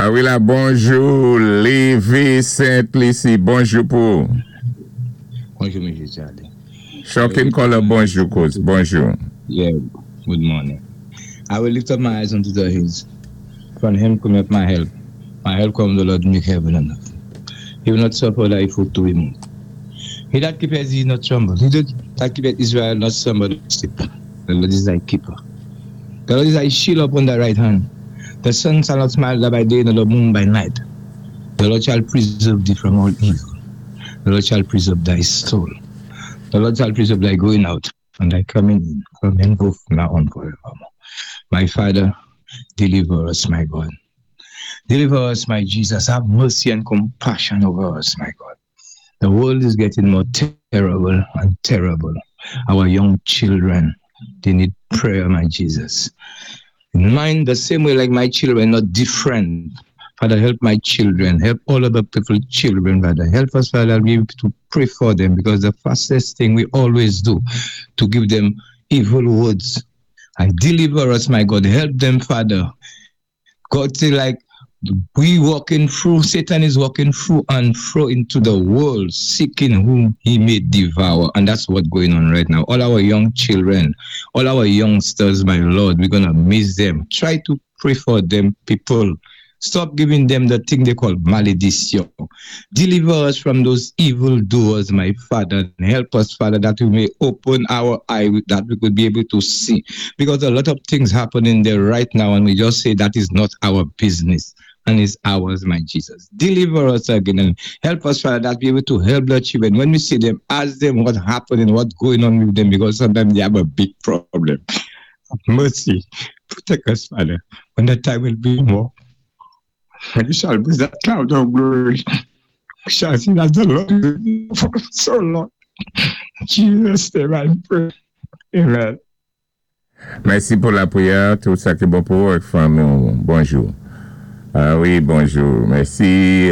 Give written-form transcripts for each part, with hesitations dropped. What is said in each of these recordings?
Ah wi la, bonjou, Lévi Saint-Lucie, bonjou pou ou. Bonjou, Mesye Charlie. Shocking Color, bonjou, kouz, bonjou. Yeah, good morning. I will lift up my eyes unto the hills. From him cometh my help. My help come the Lord make heaven and earth. He will not suffer thy foot to be moved. He that keepeth thee not slumber. He that keepeth Israel not slumber nor sleep. The Lord is thy keeper. The Lord is thy shield upon thy right hand. The sun shall not smite thee by day, nor the moon by night. The Lord shall preserve thee from all evil. The Lord shall preserve thy soul. The Lord shall preserve thy going out and thy coming in from henceforth now on forevermore. My Father, deliver us, my God. Deliver us, my Jesus. Have mercy and compassion over us, my God. The world is getting more terrible and terrible. Our young children, they need prayer, my Jesus. Mine, the same way like my children, not different. Father, help my children. Help all other people's children, Father. Help us, Father, be able to pray for them because the fastest thing we always do to give them evil words. I deliver us, my God. Help them, Father. God say like we walking through, Satan is walking through and through into the world, seeking whom he may devour. And that's what's going on right now. All our young children, all our youngsters, my Lord, we're gonna miss them. Try to pray for them, people. Stop giving them the thing they call malediction. Deliver us from those evil doers, my Father, and help us, Father, that we may open our eye, that we could be able to see. Because a lot of things happening there right now, and we just say that is not our business. And it's ours, my Jesus. Deliver us again and help us, Father, that we be able to help the children. When we see them, ask them what happening, what's going on with them, because sometimes they have a big problem. Mercy. Protect us, Father. When the time will be more. When you shall bring that cloud of glory, we shall see that the Lord for so long. Jesus' name I pray. Amen. Mèsi pou lapriyè, tout sa ki bon pou ou ak fanmi. Bonjou. Ah wi, bonjou. Mèsi.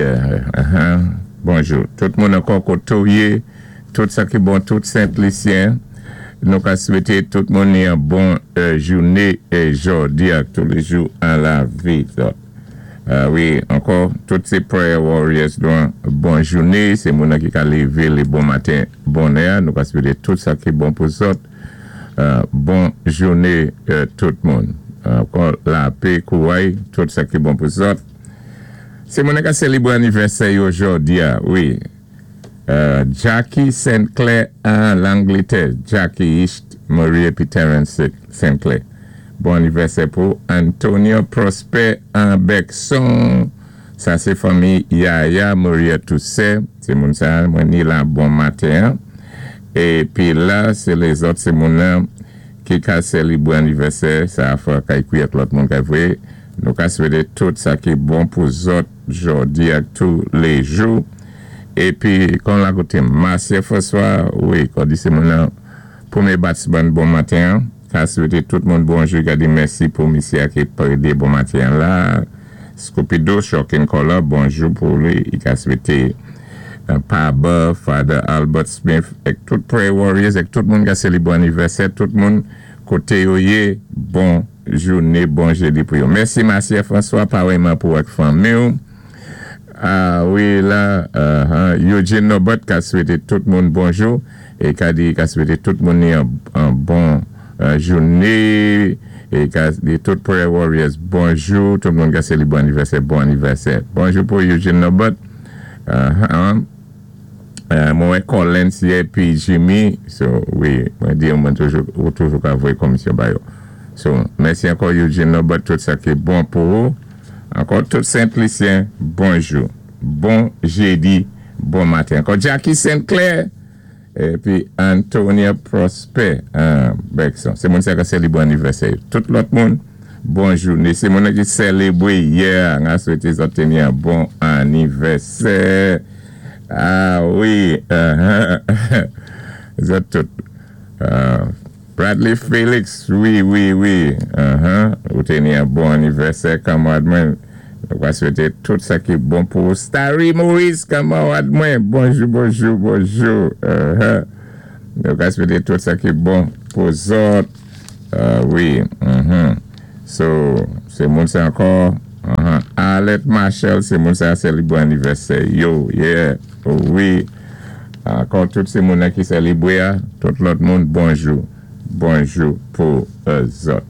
Bonjou. Tout moun ankò koté ou yé, tout sa ki bon, tout Sent-Lisyen. Nou ka swété tout moun yon bon jouné jòdi ak tou lé jou an lavi. Ah wi, ankò, tout sé prayer warriors nou bon jouné, sé moun ki ka lévé lé bon maten bonè, nou ka swété tout sa ki bon pou zòt. Bon jouné tout moun. Ankò lapè, kouray, tout sa ki bon pou zòt. Sé moun ka sélébré anivèsè yo jòdi a, wi. Jackie St. Clair an Langlétè. Jackie East, Marie épi Terence St. Clair. Bon anivèsè pou Antonio Prosper an Bergson. Sa sé fanmi Yaya Maria Toussaint. Sé moun sa mwen ni la bon maten. Épi la, sé lézòt, sé moun ki ka sélébré anivèsè. Sa a fwa kay kwi ak lòt moun kay vwé. Nou ka swété tout sa ki bon pou zòt jòdi ak tou lé jou. Épi, kon la koté Marcia François, wi, kon di sé moun nan pwémyé batsman bon maten, ka swété tout moun bonjou, ka di mèsi pou misyé ki prédé bon maten la. Scoopido, Shocking Color, bonjou pou li, i ka swété Paba, Father Albert Smith, ek tout Prayer Warriors, ek tout moun ka sélébré anivèsè, tout moun koté yo yé, bon jouné, bon jédi pou yo. Mèsi Marcia François, parèyman pou ak fanmi. Ah wi, la, Eugene Norbert ka swété tout moun bonjou é ka di ka swété tout moun yon bon jouné é ka di tout Prayer Warriors bonjou, tout moun ka sélébré anivèsè, bon anivèsè. Bonjou pou Eugene Norbert. Mwen Collins épi Jimmy, so wi, mwen di mwen toujou ou toujou ka voyé komisyon ba yo. So, mèsi ankò Eugene Norbert, tout sa ki bon pou ou. Ankò tout Sent-Lisyen, bonjou. Bon jédi, bon maten. Ankò Jackie St. Clair épi Antonia Prosper Bergson. Sé moun sa ki sélébré anivèsè. Tout lòt moun, bon jouné. Sé moun ki sélébré yè, an a swété zòt yon bon anivèsè. Ah wi, zòt tout. Bradley Felix, wi. Ou té ni yon bon anivèsè, kanmarad mwen. Nou va swété tout sa ki bon pou Starry Maurice, kanmarad mwen. Bonjou, bonjou, bonjou. Nou va swété tout sa ki bon pou zòt. Wi. So, sé moun sa ankò. Arlette Marshall, sé moun sa sélibwé anniversaire yo, yeah, wi. Ankò tout sé moun ki sélibwé, tout lòt moun, bonjou. Bonjou pou zòt.